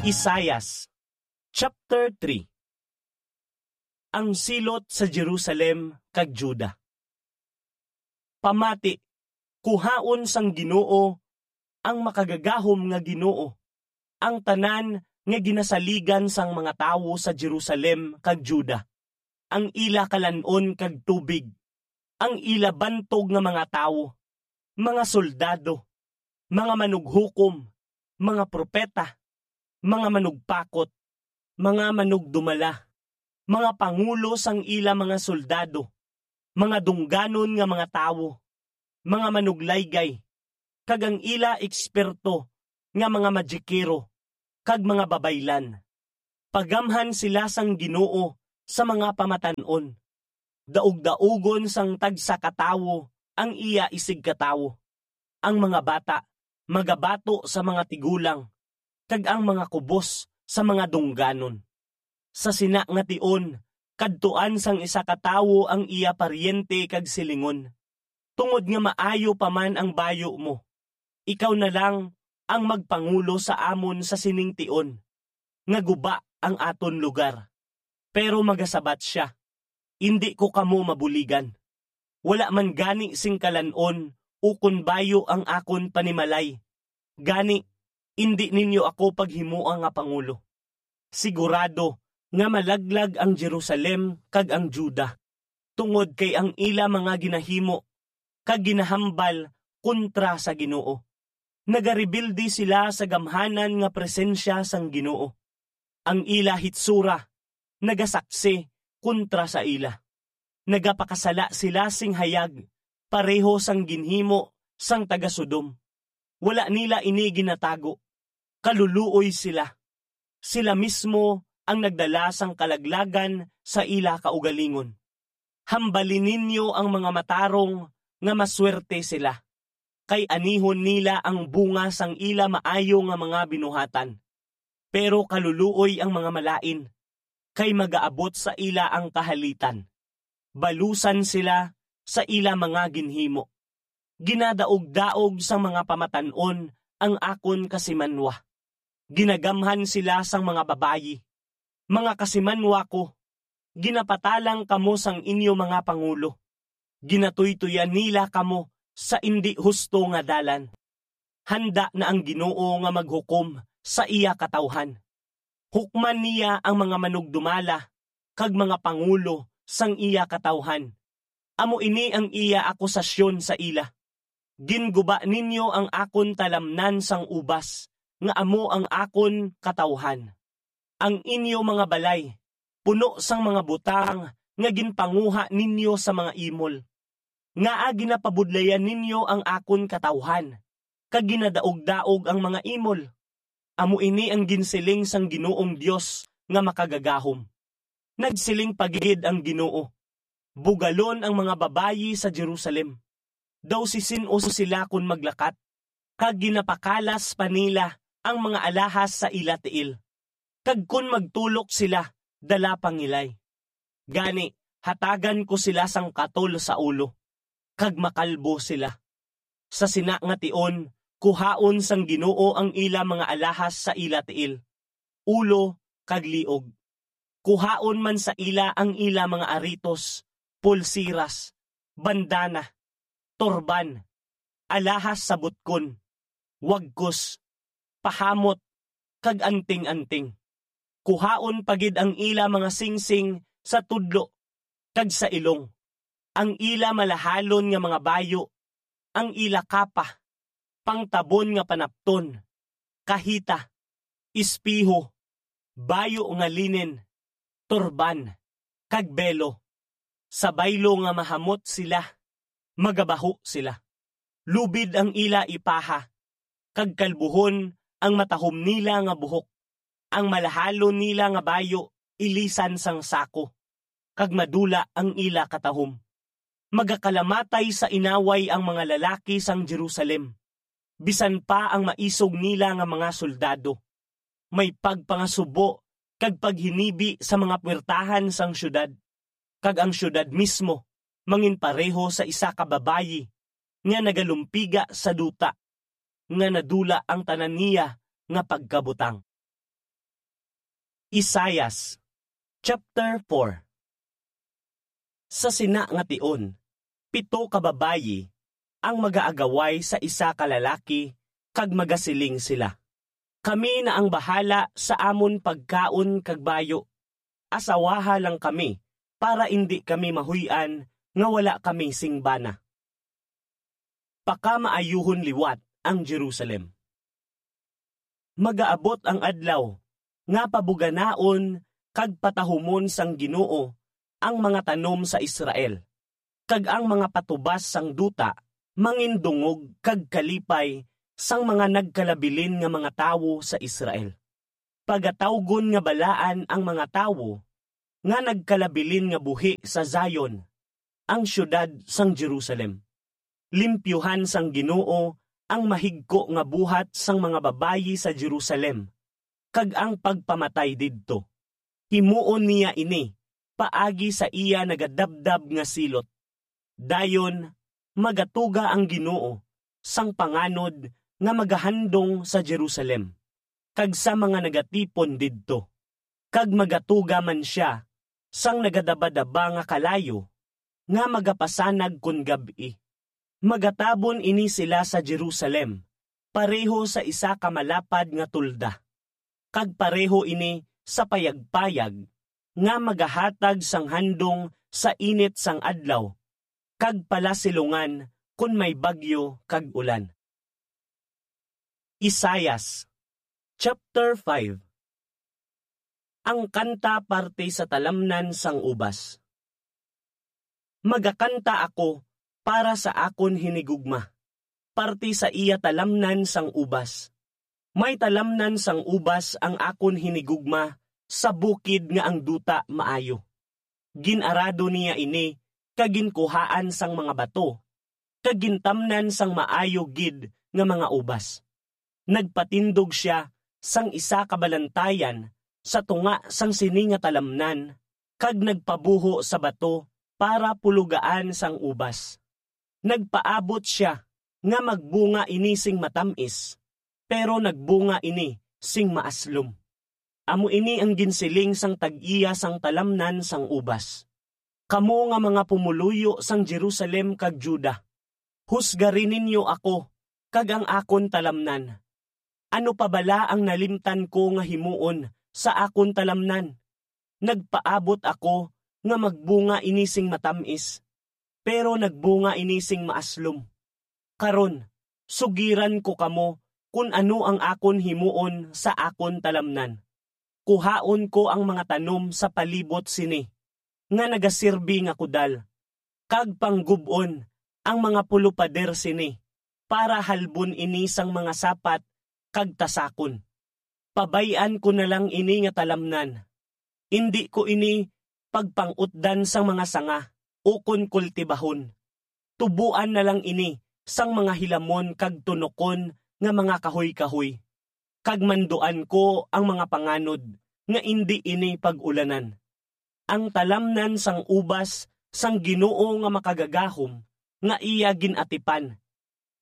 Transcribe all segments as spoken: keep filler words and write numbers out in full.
Isaias, chapter three. Ang silot sa Jerusalem kag Juda. Pamati, kuhaon sang Ginoo, ang makagagahom nga Ginoo, ang tanan nga ginasaligan sang mga tawo sa Jerusalem kag Juda, ang ila kalan-on kag tubig, ang ila bantog nga mga tawo, mga soldado, mga manughukom, mga propeta, mga manugpakot, mga manugdumala, mga pangulo sang ila mga soldado, mga dungganon nga mga tawo, mga manuglaygay, kag ang ila eksperto nga mga magikero kag mga babaylan. Pagamhan sila sang Ginoo sa mga pamatan-on. Daugdaugon sang tagsa ka tawo ang iya isigkatawo. Ang mga bata magabato sa mga tigulang, kag ang mga kubos sa mga dungganon. Sa sina nga tion, kadtuan sang isa ka tawo ang iya paryente kag silingon, "Tungod nga maayo pa man ang bayu mo, ikaw na lang ang magpangulo sa amon sa sining tion, nga guba ang aton lugar." Pero magasabat sia, "Indi ko kamo mabuligan. Wala man gani sing kalan-on ukon bayu ang akon panimalay. Gani, indi ninyo ako paghimoa nga pangulo." Sigurado nga malaglag ang Jerusalem kag ang Juda, tungod kay ang ila mga ginahimo kag ginahambal kontra sa Ginoo. Nagarebelde sila sa gamhanan nga presensya sang Ginoo. Ang ila hitsura nagasaksi kontra sa ila. Nagapakasala sila sing hayag, pareho sang ginhimo sang taga-Sodom. Wala nila ini ginatago. Kaluluoy sila. Sila mismo ang nagdala sang kalaglagan sa ila kaugalingon. Hambali ninyo ang mga matarong nga maswerte sila, kay anihon nila ang bunga sang ila maayo nga mga binuhatan. Pero kaluluoy ang mga malain, kay magaabot sa ila ang kahalitan. Balusan sila sa ila mga ginhimo. Ginadaog-daog sang mga pamatan-on ang akon kasimanwa. Ginagamhan sila sang mga babayi. Mga kasimanwa ko, ginapatalang kamo sang inyo mga pangulo. Ginatuytoyan nila kamo sa indi husto nga dalan. Handa na ang Ginoo nga maghukom sa iya katawhan. Hukman niya ang mga manugdumala kag mga pangulo sang iya katawhan. Amo ini ang iya akusasyon sa ila, "Ginguba ninyo ang akon talamnan sang ubas, nga amo ang akon katawhan. Ang inyo mga balay puno sang mga butang nga ginpanguha ninyo sa mga imol. Ngaa ginapabudlayan ninyo ang akon katawhan, kag ginadaog-daog ang mga imol?" Amo ini ang ginsiling sang Ginoong Dios nga Makagagahom. Nagsiling pa gid ang Ginoo, "Bugalon ang mga babayi sa Jerusalem. Daw si sin-o sila kon maglakat, kag ginapakalas pa nila ang mga alahas sa ila tiil. Kag kon magtulok sila, dala pangilay. Gani, hatagan ko sila sang katol sa ulo, kag makalbo sila. Sa sina nga tion, kuhaon sang Ginoo ang ila mga alahas sa ila tiil, ulo, kag liog. Kuhaon man sa ila ang ila mga aritos, pulsiras, bandana, turban, alahas sa butkon, wagkos, pahamot, kag anting-anting. Kuhaon pa gid ang ila mga singsing sa tudlo kag sa ilong, ang ila malahalon nga mga bayo, ang ila kapa, pangtabon nga panapton, kahita, espeho, bayo nga linen, turban, kag belo. Sa baylo nga mahamot sila, magabaho sila. Lubid ang ila ipaha, kag kalbuhon ang matahom nila nga buhok. Ang malahalon nila nga bayo ilisan sang sako, kag madula ang ila katahom. Magakalamatay sa inaway ang mga lalaki sang Jerusalem, bisan pa ang maisog nila nga mga soldado. May pagpangasubo kag paghinibi sa mga puwertahan sang siyudad, kag ang siyudad mismo manginpareho sa isa ka babayi nga nagalumpiga sa duta, nga nadula ang tanan niya nga pagkabutang. Isaias chapter four. Sa sina nga tion, pito ka babayi ang magaagaway sa isa ka lalaki, kag magasiling sila, "Kami na ang bahala sa amon pagkaon kag bayo. Asawaha lang kami, para indi kami mahuy-an nga wala kami sing bana." Pakamaayuhon liwat ang Jerusalem. Magaabot ang adlaw nga pabuganaon kag patahumon sang Ginoo ang mga tanom sa Israel, kag ang mga patubas sang duta mangindungog kag kalipay sang mga nagkalabilin nga mga tawo sa Israel. Pagatawgon nga balaan ang mga tawo nga nagkalabilin nga buhi sa Zion, ang siyudad sang Jerusalem. Limpyuhan sang Ginoo ang mahigko nga buhat sang mga babayi sa Jerusalem, kag ang pagpamatay didto. Himuon niya ini paagi sa iya nagadabdab nga silot. Dayon, magatuga ang Ginoo sang panganod nga magahandong sa Jerusalem, kag sa mga nagatipon didto, kag magatuga man sia sang nagadabadaba nga kalayo nga magapasanag kon gab-i. Magatabon ini sila sa Jerusalem, pareho sa isa ka malapad nga tolda, kag pareho ini sa payagpayag nga magahatag sang handong sa init sang adlaw, kag palasilongan kon may bagyo kag ulan. Isaias chapter five. Ang kanta parte sa talamnan sang ubas. Magakanta ako para sa akon hinigugma, parte sa iya talamnan sang ubas. May talamnan sang ubas ang akon hinigugma sa bukid nga ang duta maayo. Gin-arado niya ini kag ginkuhaan sang mga bato, kag gintamnan sang maayo gid nga mga ubas. Nagpatindog sia sang isa ka balantayan sa tunga sang sini nga talamnan, kag nagpabuho sa bato para pulogaan sang ubas. Nagpaabot sia nga magbunga ini sing matam-is, pero nagbunga ini sing maaslom. Amo ini ang ginsiling sang tag-iya sang talamnan sang ubas: "Kamo nga mga pumoluyo sang Jerusalem kag Juda, husgari ninyo ako kag ang akon talamnan. Ano pa bala ang nalimtan ko nga himuon sa akon talamnan? Nagpaabot ako nga magbunga ini sing matam-is, pero nagbunga ini sing maaslom. Karon, sugiran ko kamo kon ano ang akon himuon sa akon talamnan. Kuhaon ko ang mga tanom sa palibot sini nga nagasirbi nga kudal, kag panggub-on ang mga pulopader sini, para halbon ini sang mga sapat kag tasakon. Pabay-an ko na lang ini nga talamnan. Indi ko ini pagpang-utdan sang mga sanga ukon kultibahon. Tuboan na lang ini sang mga hilamon kag tunokon nga mga kahoy-kahoy, kag manduan ko ang mga panganod nga indi ini pag-ulanan." Ang talamnan sang ubas sang Ginoo nga Makagagahom nga iya gin-atipan,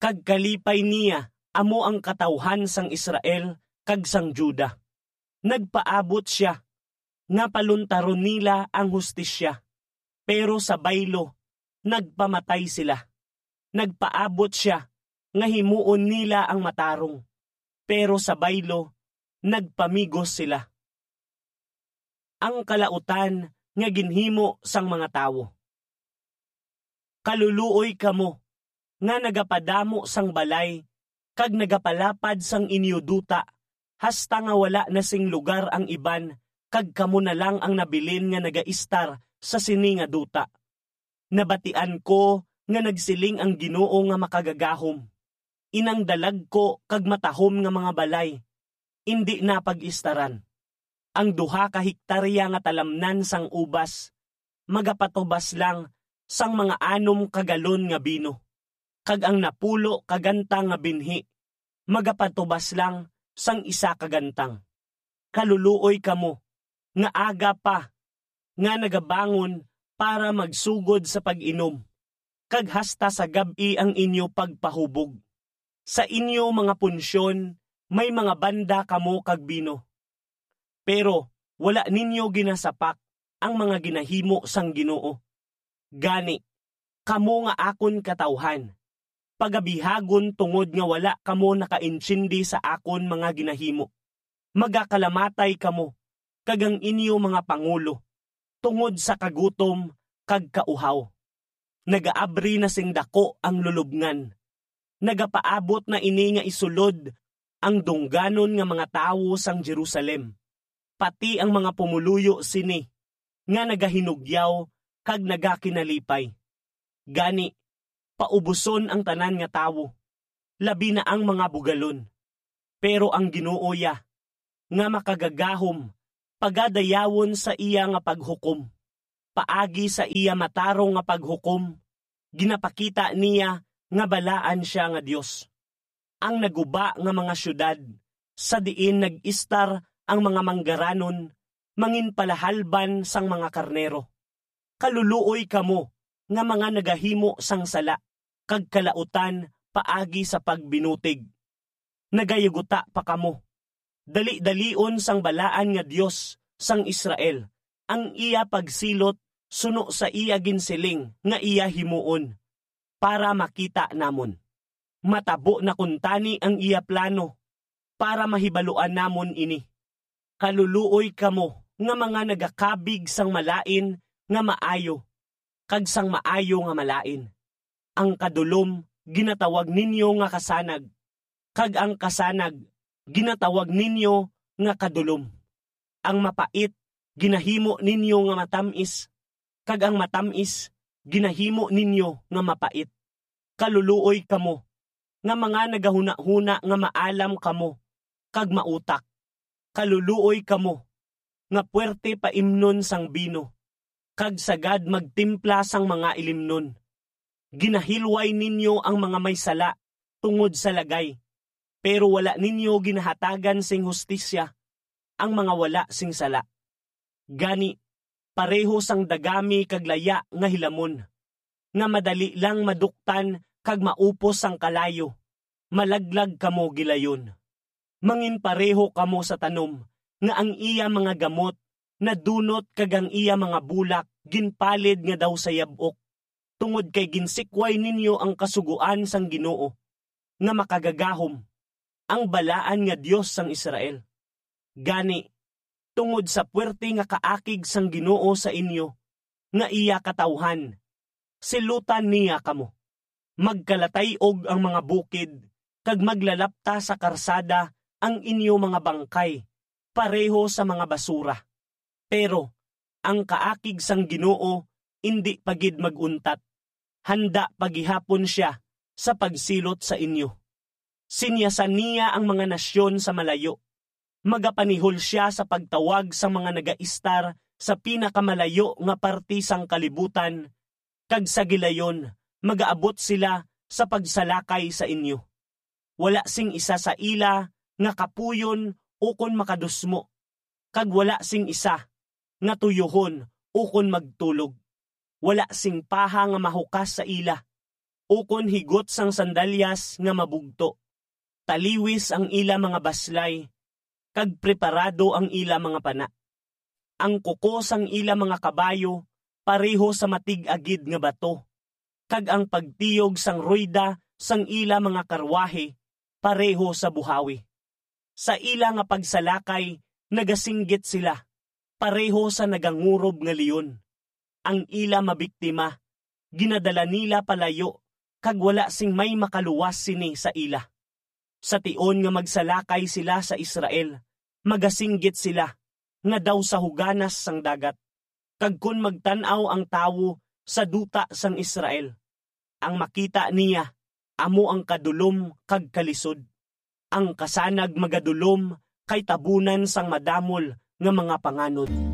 kag kalipay niya amo ang katawuhan sang Israel kag sang Juda. Nagpaabot sia nga paluntaron nila ang hustisya, pero sa baylo nagpamatay sila. Nagpaabot sia nga himuon nila ang matarong, pero sa baylo nagpamigos sila. Ang kalautan nga ginhimo sang mga tawo. Kaluluoy kamo nga nagapadamo sang balay kag nagapalapad sang inyo duta, hasta nga wala na sing lugar ang iban, kag kamo na lang ang nabilin nga nagaistar sa sini nga duta. Nabatian ko nga nagsiling ang Ginoo nga Makagagahom: "Inang dalagku kag matahom nga mga balay, indi na pag-istaran. Ang duha ka hektarya nga talamnan sang ubas magapatubas lang sang mga anom ka galon nga bino, kag ang napulo ka gantang nga binhi magapatubas lang sang isa ka gantang. Kaluluoy kamo nga aga pa nga nagabangon para magsugod sa pag-inom, kag hasta sa gab-i ang inyo pagpahubog. Sa inyo mga punsyon may mga banda kamo kag bino. Pero Wala ninyo ginasapak ang mga ginahimo sang Ginoo. Gani, kamo nga akon katawuhan, pagabihagon tungod nga wala kamo nakaintindi sa akon mga ginahimo. Magakalamatay kamo, kag ang inyo mga pangulo, tungod sa kagutom kag kauhaw. Nagaabri na sing daku ang lulobngan. Nagapaabot na ini nga isulod ang dungganon nga mga tawo sang Jerusalem. Pati ang mga pumoluyo sini nga nagahinugyaw kag nagakinalipay. Gani, paubuson ang tanan nga tawo, labi na ang mga bugalon. Pero ang Ginoo ya, nga makagagahom, pagadayawon sa iya nga paghukom. Paagi sa iya matarong nga paghukom, ginapakita niya nga balaan sia nga Dios. Ang naguba nga mga siyudad, sa diin nag-istar ang mga manggaranon, manginpalahalban sang mga karnero. Kaluluoy kamo nga mga nagahimo sang sala, kag kalautan paagi sa pagbinutig. Nagayuguta pa kamo. Dali-dalion sang balaan nga Dios sang Israel ang iya pagsilot suno sa iya ginsiling nga iya himuon, para makita namon. Matabo na kuntani ang iya plano, para mahibaluan namon ini. Kaluluoy kamo nga mga nagakabig sang malain nga maayo, kag sang maayo nga malain. Ang kadulom ginatawag ninyo nga kasanag, kag ang kasanag ginatawag ninyo nga kadulom. Ang mapait ginahimo ninyo nga matam-is, kag ang matam-is ginahimo ninyo nga mapait. Kaluluoy kamo, nga mga nagahunahuna nga maalam kamo kag mautak. Kaluluoy kamo, nga puwerte paimnon sang bino, kag sagad magtimpla sang mga ilimnon. Ginahilway ninyo ang mga may sala tungod sa lagay, pero wala ninyo ginahatagan sing hustisya ang mga wala sing sala. Gani, pareho sang dagami kag laya nga hilamon, nga madali lang maduktan kag maupos sang kalayo, malaglag kamo gilayon. Manginpareho kamo sa tanom nga ang iya mga gamot nadunot kag ang iya mga bulak ginpalid nga daw sa yab-ok, tungod kay ginsikway ninyo ang kasugoan sang Ginoo, nga makagagahom, ang balaan nga Dios sang Israel. Gani, tungod sa puwerte nga kaakig sang Ginoo sa inyo, nga iya katawuhan, silutan niya kamo. Magkalatay-og ang mga bukid, kag maglalapta sa karsada ang inyo mga bangkay, pareho sa mga basura. Pero ang kaakig sang Ginoo indi pa gid mag-untat. Handa pa gihapon sia sa pagsilot sa inyo. Sinyasan niya ang mga nasyon sa malayo. Magapanihol sia sa pagtawag sa mga nagaistar sa pinakamalayo nga parti sang kalibutan, kag sa gilayon magaabot sila sa pagsalakay sa inyo. Wala sing isa sa ila nga kapuyon ukon makadusmo, kag wala sing isa nga tuyuhon ukon magtulog. Wala sing paha nga mahukas sa ila, ukon higot sang sandalyas nga mabugto. Taliwis ang ila mga baslay, kag preparado ang ila mga pana. Ang kuko sang ila mga kabayo pareho sa matig-a gid nga bato, kag ang pagtiyog sang ruyda sang ila mga karwahe pareho sa buhawi. Sa ila nga pagsalakay nagasinggit sila, pareho sa nagangurob nga leon. Ang ila mabiktima ginadala nila palayo, kag wala sing may makaluwas sini sa ila. Sa tion nga magsalakay sila sa Israel, magasinggit sila nga daw sa huganas sang dagat. Kag kon magtan-aw ang tawo sa duta sang Israel, ang makita niya amo ang kadulom kag kalisod. Ang kasanag magadulom kay tabunan sang madamol nga mga panganod.